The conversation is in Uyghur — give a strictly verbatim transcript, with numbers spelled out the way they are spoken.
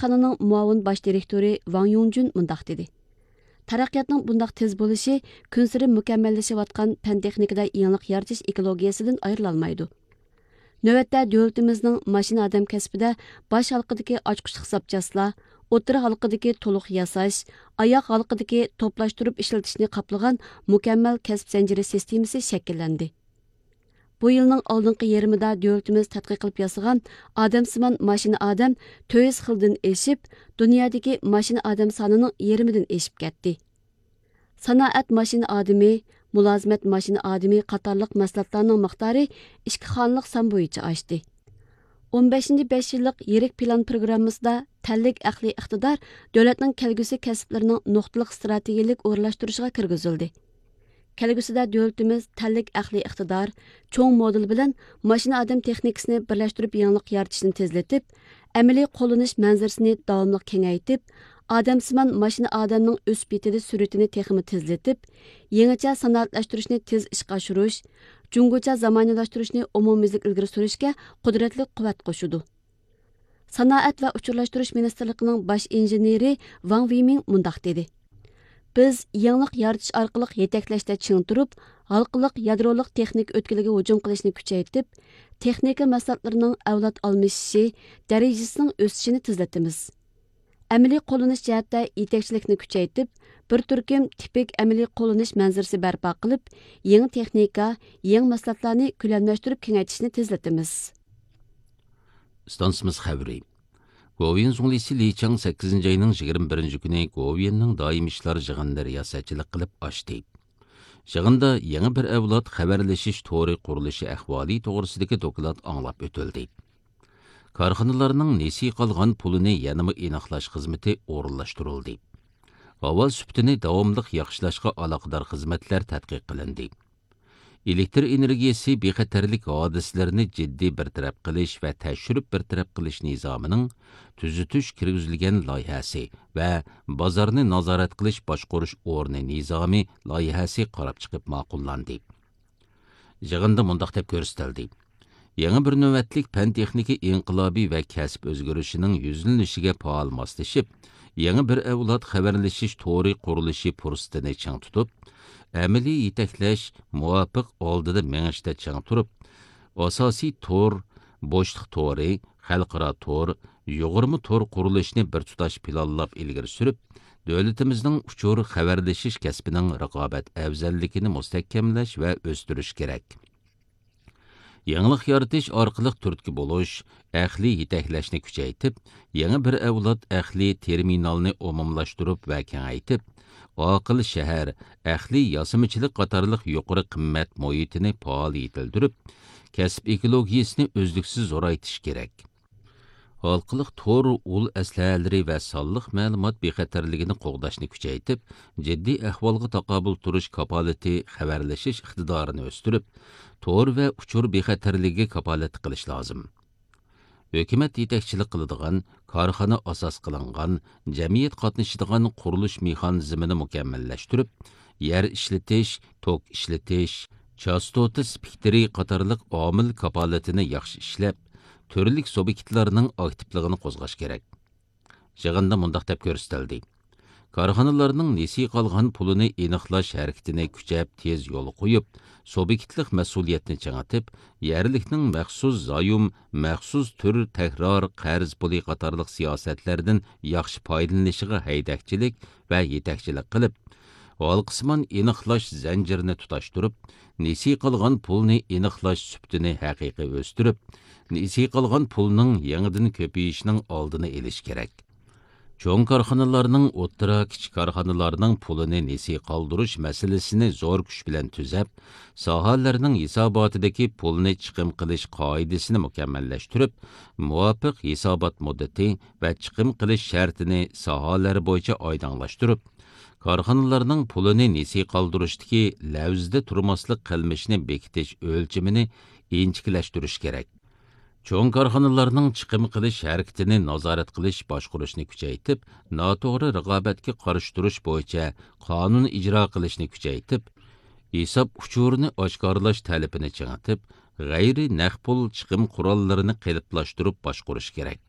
كارخانىنىڭ مۇئاۋىن باش دىرېكتورى ۋاڭ يۇڭجۈن مۇنداق دېدى: تەرەققىياتنىڭ بۇنداق تېز بولۇشى كۈنسېرى مۇكەممەللىشىۋاتقان پەن تېخنىكىدا يېڭىلىق يارىتىش ئېكولوگىيەسىدىن ئايرىلالمايدۇ. نۆۋەتتە دۆلىتىمىزنىڭ ماشىنا ئادەم كەسپىدە باش ھالقىدىكى ئاچقۇچلۇق زاپچاسلار، ئوتتۇرا ھالقىدىكى تولۇق ياساش، ئاياغ ھالقىدىكى توپلاشتۇرۇپ ئىشلىتىشنى قاپلىغان مۇكەممەل كەسىپ زەنجىرى سىستېمىسى شەكىللەندى. بۇ يىلنىڭ ئالدىنقى يېرىمىدا دۆلىتىمىز تەتقىق قىلىپ ياسىغان ئادەمسىمان ماشىنا ئادەم تۆت يۈز خىلدىن ئېشىپ، دۇنيادىكى ماشىنا ئادەم سانىنىڭ يېرىمىدىن ئېشىپ كەتتى. سانائەت ماشىنا ئادىمى، مۇلازىمەت ماشىنا ئادىمى قاتارلىق مەھسۇلاتلارنىڭ مىقدارى ئىككى خانىلىق سان بويىچە ئاشتى. ئون بەشىنچى بەش يىللىق يىرىك پىلان پروگراممىسىدا تەنلىك ئەقلىي ئىقتىدار دۆلەتنىڭ كەلگۈسى كەسىپلىرىنىڭ نۇقتىلىق ئىستراتېگىيەلىك ئورۇنلاشتۇرۇشىغا كىرگۈزۈلدى. كەلگۈسىدە دۆلىتىمىز تەنلىك ئەقلىي ئىقتىدار، چوڭ مودېل بىلەن ماشىنا ئادەم تېخنىكىسىنى بىرلەشتۈرۈپ يېڭىلىق يارىتىشنى تېزلىتىپ، ئەمەلىي قوللىنىش مەنزىرىسىنى داۋاملىق كېڭەيتىپ، ئادەمسىمان ماشىنا ئادەمنىڭ ئۆسۈپ يېتىلىش سۈرئىتىنى تېخىمۇ تېزلىتىپ، يېڭىچە سانائەتلەشتۈرۈشنى تېز ئىشقا ئاشۇرۇش، جۇڭگوچە زامانىۋىلاشتۇرۇشنى ئومۇميۈزلۈك ئىلگىرى سۈرۈشكە قۇدرەتلىك قۇۋۋەت قوشىدۇ. سانائەت ۋە ئۇچۇرلاشتۇرۇش مىنىستىرلىقىنىڭ باش ئىنژېنېرى ۋاڭ ۋېيمىڭ مۇنداق دېدى: بىز يېڭىلىق يارىتىش ئارقىلىق يېتەكلەشتە چىڭ تۇرۇپ، ھالقىلىق يادرولۇق تېخنىكا ئۆتكىلىگە ھۇجۇم قىلىشنى كۈچەيتىپ، تېخنىكا مەھسۇلاتلىرىنىڭ ئەۋلاد ئالمىشىشى، دەرىجىسىنىڭ ئۆسۈشىنى تېزلىتىمىز. ئەمەلىي قوللىنىش جەھەتتە يېتەكچىلىكنى كۈچەيتىپ، بىر تۈركۈم تىپىك ئەمەلىي قوللىنىش مەنزىرىسى بەرپا قىلىپ، يېڭى تېخنىكا، يېڭى مەھسۇلاتلارنى كۆلەملەشتۈرۈپ كېڭەيتىشنى تېزلىتىمىز. ئىستانسىمىز خەۋىرى. گوۋۇيۈەن زۇڭلىسى لى چاڭ سەككىزىنچى ئاينىڭ يىگىرمە بىرىنچى كۈنى گوۋۇيۈەننىڭ دائىمىي ئىشلار يىغىنىدا رىياسەتچىلىك قىلىپ ئاچتى. يىغىندا يېڭى بىر ئەۋلاد خەۋەرلىشىش تورى قۇرۇلۇشى ئەھۋالى توغرىسىدىكى دوكلات ئاڭلاپ ئۆتۈلدى. كارخانىلارنىڭ نېسى قالغان پۇلىنى يەنىمۇ ئېنىقلاش خىزمىتى ئورۇنلاشتۇرۇلدى. ھاۋا سۈپىتىنى داۋاملىق ياخشىلاشقا ئالاقىدار خىزمەتلەر تەتقىق قىلىندى. ئېلېكتر ئېنېرگىيەسى بىخەتەرلىك ھادىسىلىرىنى جىددىي بىر تەرەپ قىلىش ۋە تەكشۈرۈپ بىر تەرەپ قىلىش نىزامىنىڭ تۈزىتىش كىرگۈزۈلگەن لايىھەسى ۋە بازارنى نازارەت قىلىش باشقۇرۇش ئورنى نىزامى لايىھەسى قاراپ چىقىپ ماقۇللاندى. يىغىندا مۇنداق دەپ كۆرسىتىلدى: يېڭى بىر نۆۋەتلىك پەن تېخنىكا ئىنقىلابى ۋە كەسىپ ئۆزگىرىشىنىڭ يۈزلىنىشىگە پائال ماسلىشىپ، يېڭى بىر ئەۋلاد خەۋەرلىشىش تورى قۇرۇلۇشى پۇرسىتىنى چىڭ تۇتۇپ، ئەمەلىي يېتەكلەش، مۇۋاپىق ئالدىدا مېڭىشتا چىڭ تۇرۇپ، ئاساسىي تور، بوشلۇق تورى، خەلقئارا تور، يۇغۇرما تور قۇرۇلۇشىنى بىر تۇتاش پىلانلاپ ئىلگىرى سۈرۈپ، دۆلىتىمىزنىڭ ئۇچۇر خەۋەرلىشىش كەسپىنىڭ رىقابەت ئەۋزەللىكىنى مۇستەھكەملەش ۋە ئۆستۈرۈش كېرەك. يېڭىلىق يارىتىش ئارقىلىق تۈرتكە بولۇش، ئەقلىي يېتەكلەشنى كۈچەيتىپ، يېڭى بىر ئەۋلاد ئەقلىي تېرمىنالنى ئومۇملاشتۇرۇپ ۋە كېڭەيتىپ، ئاقىل شەھەر، ئەقلىي ياسىمىچىلىق قاتارلىق يۇقىرى قىممەت مۇھىتىنى پائال يېتىلدۈرۈپ، كەسىپ ئېكولوگىيىسىنى ئۈزلۈكسىز زورايتىش كېرەك. ھالقىلىق تور ئۇل ئەسلىھەلىرى ۋە سانلىق مەلۇمات بىخەتەرلىكىنى قوغداشنى كۈچەيتىپ، جىددىي ئەھۋالغا تاقابىل تۇرۇش كاپالىتى خەۋەرلىشىش ئىقتىدارىنى ئۆستۈرۈپ، تور ۋە ئۇچۇر بىخەتەرلىكىگە كاپالەتلىك قىلىش لازىم. ھۆكۈمەت يېتەكچىلىك قىلىدىغان، كارخانا ئاساس قىلىنغان، جەمئىيەت قاتنىشىدىغان قۇرۇلۇش مېخانىزمىنى مۇكەممەللەشتۈرۈپ، يەر ئىشلىتىش، توك ئىشلىتىش، چاستوتا سپېكتىرى قاتارلىق ئامىل كاپالىتىنى ياخشى ئىشلەپ، تۈرلۈك سۇبيېكتلارنىڭ ئاكتىپلىقىنى قوزغاش كېرەك. يىغىندا مۇنداق دەپ كۆرسىتىلدى: كارخانىلارنىڭ نېسى قالغان پۇلىنى ئېنىقلاش ھەرىكىتىنى كۈچەپ تېز يولغا قويۇپ، سۇبيېكتلىق مەسئۇلىيەتنى چىڭىتىپ، يەرلىكنىڭ مەخسۇس زايوم، مەخسۇس تۈر تەكرار قەرز پۇلى قاتارلىق سىياسەتلەردىن ياخشى پايدىلىنىشىغا ھەيدەكچىلىك ۋە يېتەكچىلىك قىلىپ، ھالقىسىمان ئېنىقلاش زەنجىرىنى تۇتاشتۇرۇپ، نېسى قالغان پۇلنى ئېنىقلاش سۈپىتىنى ھەقىقىي ئۆستۈرۈپ، نېسى قالغان پۇلنىڭ يېڭىدىن كۆپىيىشىنىڭ ئالدىنى ئېلىش كېرەك. چوڭ كارخانىلارنىڭ، ئوتتۇرا، كىچىك كارخانىلارنىڭ پۇلىنى نېسى قالدۇرۇش مەسىلىسىنى زور كۈچ بىلەن تۈزەپ، ساھەلەرنىڭ ھېساباتىدىكى پۇلنى چىقىم قىلىش قائىدىسىنى مۇكەممەللەشتۈرۈپ، مۇۋاپىق ھېسابات مۇددىتى ۋە چىقىم قىلىش شەرتىنى ساھەلەر بويىچە ئايدىڭلاشتۇرۇپ، كارخانىلارنىڭ پۇلىنى نېسى قالدۇرۇشتىكى لەۋزىدە تۇرماسلىق قىلمىشىنى بېكىتىش ئۆلچىمىنى ئىنچىكىلەشتۈرۈش كېرەك. چوڭ كارخانىلارنىڭ چىقىم قىلىش ھەرىكىتىنى نازارەت قىلىش باشقۇرۇشنى كۈچەيتىپ، ناتوغرا رىقابەتكە قارشى تۇرۇش بويىچە قانۇن ئىجرا قىلىشنى كۈچەيتىپ، ھېساب ئۇچۇرىنى ئاشكارىلاش تەلىپىنى چىڭىتىپ، غەيرىي نەق پۇل چىقىم قوراللىرىنى قېلىپلاشتۇرۇپ باشقۇرۇش كېرەك.